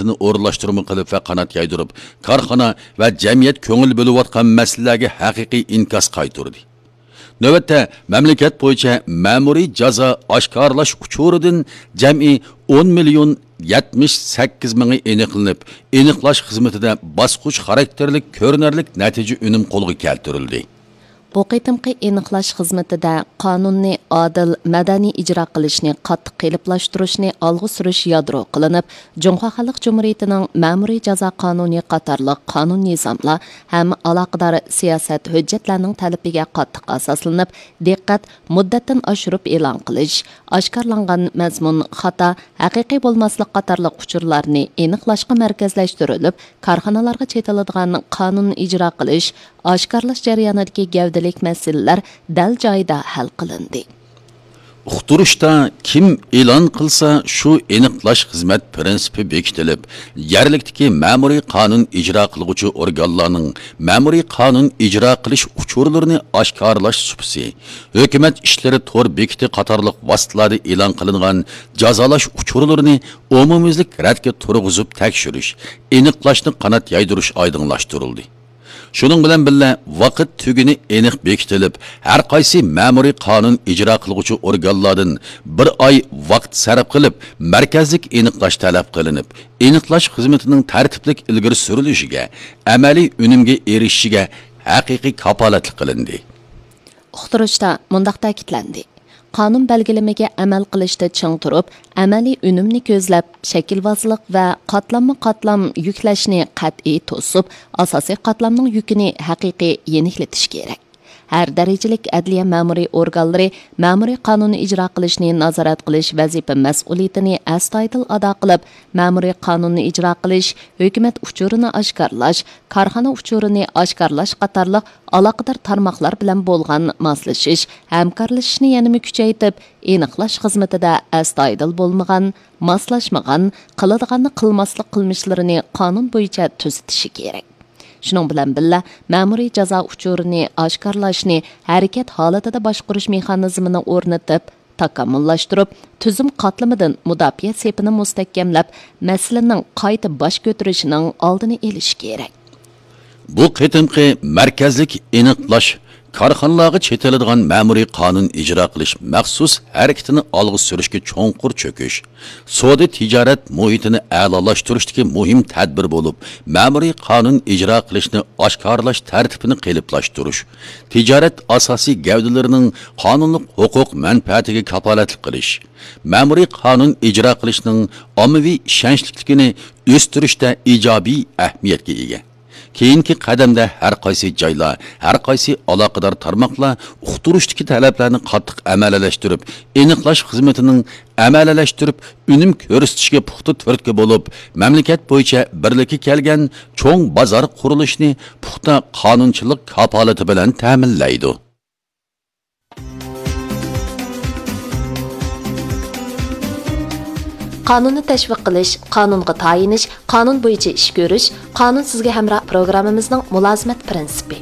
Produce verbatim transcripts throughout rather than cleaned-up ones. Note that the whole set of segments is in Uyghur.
ئورۇنلاشتۇرما قىلىپ ۋە قانات يايدۇرۇپ، كارخانا ۋە جەمئىيەت كۆڭۈل بۆلۈۋاتقان مەسىلىلەرگە ھەقىقىي ئىنكاس قايتۇردى. نۆۋەتتە، مەملىكەت بويىچە مەمۇرىي جازا ئاشكارىلاش ئۇچۇرىدىن جەمئىي ئون مىليون يەتمىش سەككىز مىڭى ئېنىقلىنىپ، ئېنىقلاش خىزمىتىدە باسقۇچ خاراكتېرلىك كۆرۈنەرلىك نەتىجە ئۈنۈم قولغا كەلتۈرۈلدى. بۇ قېتىمقى ئېنىقلاش خىزمىتىدە قانۇننى ئادىل، مەدەنىي ئىجرا قىلىشنى قاتتىق قېلىپلاشتۇرۇشنى ئالغا سۈرۈش يادرو قىلىنىپ، جۇڭخۇا خەلق جۇمھۇرىيىتىنىڭ مەمۇرىي جازا قانۇنى قاتارلىق قانۇن نىزاملار ھەم ئالاقىدار سىياسەت ھۆججەتلەرنىڭ تەلىپىگە قاتتىق ئاساسلىنىپ، دىققەت مۇددەتتىن ئاشۇرۇپ ئېلان قىلىش، ئاشكارىلانغان مەزمۇن خاتا، ھەقىقىي بولماسلىق قاتارلىق ئۇچۇرلارنى ئېنىقلاشقا مەركەزلەشتۈرۈلۈپ، كارخانىلارغا چېتىلىدىغان قانۇن ئىجرا قىلىش، ئاشكارىلاش جەريانىدىكى گەۋدىلىك مەسىلىلەر دەل جايىدا ھەل قىلىندى. ئۇقتۇرۇشتا كىم ئېلان قىلسا، شۇ ئېنىقلاش خىزمەت پىرىنسىپى بېكىتىلىپ، يەرلىكتىكى مەمۇرىي قانۇن ئىجرا قىلغۇچى ئورگانلارنىڭ مەمۇرىي قانۇن ئىجرا قىلىش ئۇچۇرلىرىنى ئاشكارىلاش سۇپىسى، ھۆكۈمەت ئىشلىرى تور بېكىتى قاتارلىق ۋاسىتىلەردە ئېلان قىلىنغان جازالاش ئۇچۇرلىرىنى ئومۇميۈزلۈك رەتكە تۇرغۇزۇپ تەكشۈرۈش، ئېنىقلاشنى قانات يايدۇرۇش ئايدىڭلاشتۇرۇلدى. شۇنىڭ بىلەن بىللە، ۋاقىت تۈگۈنى ئېنىق بېكىتىلىپ، ھەر قايسى مەمۇرىي قانۇن ئىجرا قىلغۇچى ئورگانلاردىن بىر ئاي ۋاقىت سەرپ قىلىپ، مەركەزلىك ئېنىقلاش تەلەپ قىلىنىپ، ئېنىقلاش خىزمىتىنىڭ تەرتىپلىك ئىلگىرى سۈرۈلۈشىگە، ئەمەلىي ئۈنۈمگە ئېرىشىشىگە ھەقىقىي كاپالەتلىك قىلىندى. ئۇقتۇرۇشتا مۇنداق تەكىتلەندى: قانۇن بەلگىلىمىگە ئەمەل قىلىشتا چىڭ تۇرۇپ، ئەمەلىي ئۈنۈمنى كۆزلەپ، شەكىلۋازلىق ۋە قاتلاممۇ قاتلام يۈكلەشنى قەتئىي توسۇپ، ئاساسىي قاتلامنىڭ يۈكىنى ھەقىقىي يېنىكلىتىش كېرەك. ھەر دەرىجىلىك ئەدلىيە مەمۇرىي ئورگانلىرى مەمۇرىي قانۇننى ئىجرا قىلىشنى نازارەت قىلىش ۋەزىپە مەسئۇلىيىتىنى ئەستايىدىل ئادا قىلىپ، مەمۇرىي قانۇننى ئىجرا قىلىش، ھۆكۈمەت ئۇچۇرىنى ئاشكارىلاش، كارخانا ئۇچۇرىنى ئاشكارىلاش قاتارلىق ئالاقىدار تارماقلار بىلەن بولغان ماسلىشىش، ھەمكارلىشىشنى يەنىمۇ كۈچەيتىپ، ئېنىقلاش خىزمىتىدە ئەستايىدىل بولمىغان، ماسلاشمىغان، قىلىدىغاننى قىلماسلىق قىلمىشلىرىنى قانۇن بويىچە تۈزىتىشى كېرەك. شۇنىڭ بىلەن بىللە، مەمۇرىي جازا ئۇچۇرىنى ئاشكارىلاشنى ھەرىكەت ھالىتىدە باشقۇرۇش مېخانىزمىنى ئورنىتىپ، تاكامۇللاشتۇرۇپ، تۈزۈم قاتلىمىدىن مۇداپىئە سېپىنى مۇستەھكەملەپ، مەسىلىنىڭ قايتا باش كۆتۈرۈشىنىڭ ئالدىنى ئېلىش كېرەك. بۇ قېتىمقى مەركەزلىك ئېنىقلاش كارخانىلارغا چېتىلىدىغان مەمۇرىي قانۇن ئىجرا قىلىش مەخسۇس ھەرىكىتىنى ئالغا سۈرۈشكە چوڭقۇر چۆكۈش، سودا تىجارەت مۇھىتىنى ئەلالاشتۇرۇشتىكى مۇھىم تەدبىر بولۇپ، مەمۇرىي قانۇن ئىجرا قىلىشنى ئاشكارىلاش تەرتىپىنى قېلىپلاشتۇرۇش، تىجارەت ئاساسىي گەۋدىلىرىنىڭ قانۇنلۇق ھوقۇق مەنپەئەتىگە كاپالەتلىك قىلىش، مەمۇرىي قانۇن ئىجرا قىلىشنىڭ ئاممىۋى ئىشەنچلىكلىكىنى ئۆستۈرۈشتە ئىجابىي ئەھمىيەتكە ئىگە. كېيىنكى قەدەمدە ھەر قايسى جايلار، ھەر قايسى ئالاقىدار تارماقلار ئۇقتۇرۇشتىكى تەلەپلەرنى قاتتىق ئەمەلىيلەشتۈرۈپ، ئېنىقلاش خىزمىتىنىڭ ئەمەلىيلەشتۈرۈپ، ئۈنۈم كۆرسىتىشكە پۇختا تۈرتكە بولۇپ، مەملىكەت بويىچە بىرلىككە كەلگەن چوڭ بازار قۇرۇلۇشىنى پۇختا قانۇنچىلىق كاپالىتى بىلەن تەمىنلەيدۇ. قانۇننى تەشۋىق قىلىش، قانۇنغا تايىنىش، قانۇن بويىچە ئىش كۆرۈش، قانۇن سىزگە ھەمراھ پروگراممىمىزنىڭ مۇلازىمەت پىرىنسىپى.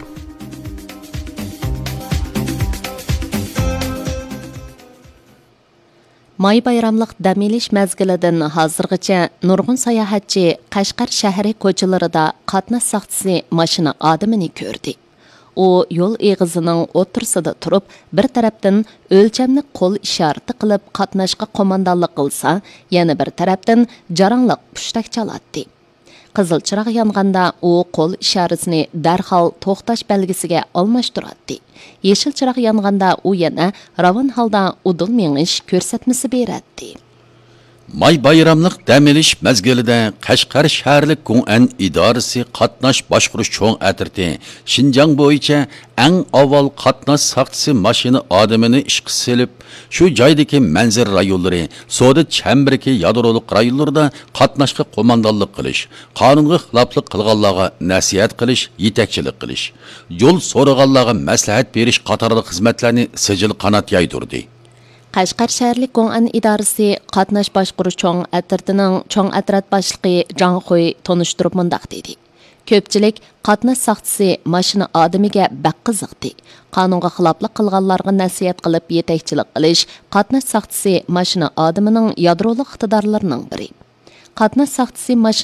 ماي بايراملىق دەم ئېلىش مەزگىلىدىن ھازىرغىچە نۇرغۇن ساياھەتچى قەشقەر شەھىرى كوچىلىرىدا قاتناش ساقچىسى ماشىنا ئادىمىنى كۆردى. ئۇ يول ئېغىزىنىڭ ئوتتۇرىسىدا تۇرۇپ، بىر تەرەپتىن ئۆلچەملىك قول ئىشارىتى قىلىپ قاتناشقا قوماندانلىق قىلسا، يەنە بىر تەرەپتىن جاراڭلىق پۇشتەك چالاتتى. قىزىل چىراغ يانغاندا ئۇ قول ئىشارىسىنى دەرھال توختاش بەلگىسىگە ئالماشتۇراتتى. يېشىل چىراغ يانغاندا ئۇ يەنە راۋان ھالدا ئۇدۇل مېڭىش كۆرسەتمىسى بېرەتتى. ماي بايراملىق دەم ئېلىش مەزگىلىدە قەشقەر شەھەرلىك گۇڭئەن ئىدارىسى قاتناش باشقۇرۇش چوڭ ئەترىتى شىنجاڭ بويىچە ئەڭ ئاۋۋال قاتناش ساقچىسى ماشىنا ئادىمىنى ئىشقا سېلىپ، شۇ جايدىكى مەنزىرە رايونلىرى، سودا چەمبىرىكى يادرولۇق رايونلىرىدا قاتناشقا قوماندانلىق قىلىش، قانۇنغا خىلاپلىق قىلغانلارغا نەسىھەت قىلىش، يېتەكچىلىك قىلىش، يول سورىغانلارغا مەسلىھەت بېرىش قاتارلىق خىزمەتلەرنى سىجىل قانات يايدۇردى. قەشقەر شەھەرلىك گوڭئەن ئىدارىسى قاتناش باشقۇرۇش چوڭ ئەترىتىنىڭ چوڭ ئەترەت باشلىقى جاڭ خۇي تونۇشتۇرۇپ مۇنداق دېدى: كۆپچىلىك قاتناش ساقچىسى ماشىنا ئادىمىگە بەك قىزىقتى. قانۇنغا خىلاپلىق قىلغانلارغا نەسىھەت قىلىپ يېتەكچىلىك قىلىش قاتناش ساقچىسى ماشىنا ئادىمىنىڭ يادرولۇق ئىقتىدارلىرىنىڭ بىرى. قاتناش ساقچىسى ماشىنا